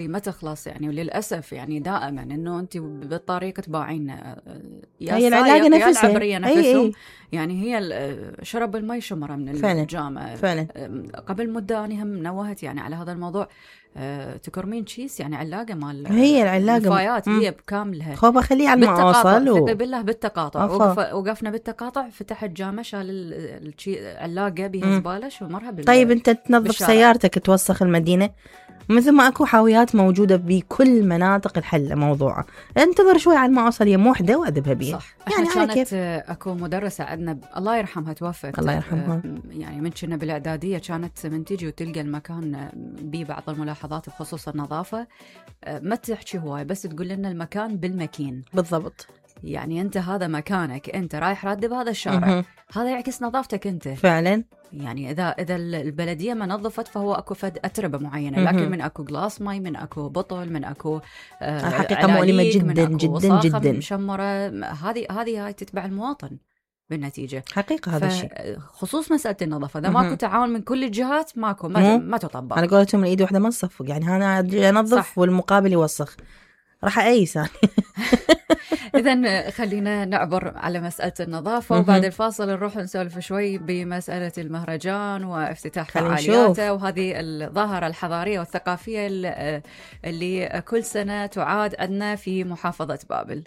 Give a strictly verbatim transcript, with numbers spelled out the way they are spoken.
ما تخلص يعني. وللأسف يعني دائما إنه أنت بالطريق تباعين يا هي العلاقة نفسها، يا العبرية نفسهم. أي أي. يعني هي شرب المي شمرة من فعلا. الجامعة. فعلا. قبل مدة أنا هم نوهت يعني على هذا الموضوع. أه تكرمين تشيس يعني علاقة مال هي العلاقة الفايات م... هي بكاملها. خوبة خليه على المواصل و... و... بالله بالتقاطع. وقف... وقفنا بالتقاطع، فتحت جامعة شال العلاقة بها زبالة ومرها بال... طيب أنت تنظف بالشارع. سيارتك توسخ المدينة، مثل ما أكو حاويات موجودة بكل مناطق الحل موضوعة. انتظر شوي على ما أوصل يم وحدة وأذبها بيها. صح. يعني كانت كيف؟ أكو مدرسة عندنا ب... الله يرحمها توفت. الله يرحمها. يعني من كنا بالإعدادية كانت من تيجي وتلقى المكان بيه بعض الملاحظات بخصوص النظافة، ما تحكي هواي بس تقول لنا المكان بالمكين. بالضبط. يعني أنت هذا مكانك، أنت رايح راتب هذا الشارع، م-م. هذا يعكس نظافتك أنت فعلا. يعني إذا إذا البلدية ما نظفت فهو أكو فد أتربة معينة، لكن من أكو جلاس ماي، من أكو بطل، من أكو آه حقيقة مؤلمة جدا جدا جدا. مشمرة. هذه هذه هاي تتبع المواطن بالنتيجة. حقيقة هذا الشيء خصوص مسألة النظافة، إذا ماكو تعاون من كل الجهات ماكو ما, ما تطبق. على قولتهم الإيد واحدة ما تصفق، يعني أنا أنظف والمقابل يوسخ راح أيس. إذن خلينا نعبر على مسألة النظافة، وبعد الفاصل نروح نسولف شوي بمسألة المهرجان وافتتاح فعالياته وهذه الظاهرة الحضارية والثقافية اللي كل سنة تعاد عندنا في محافظة بابل.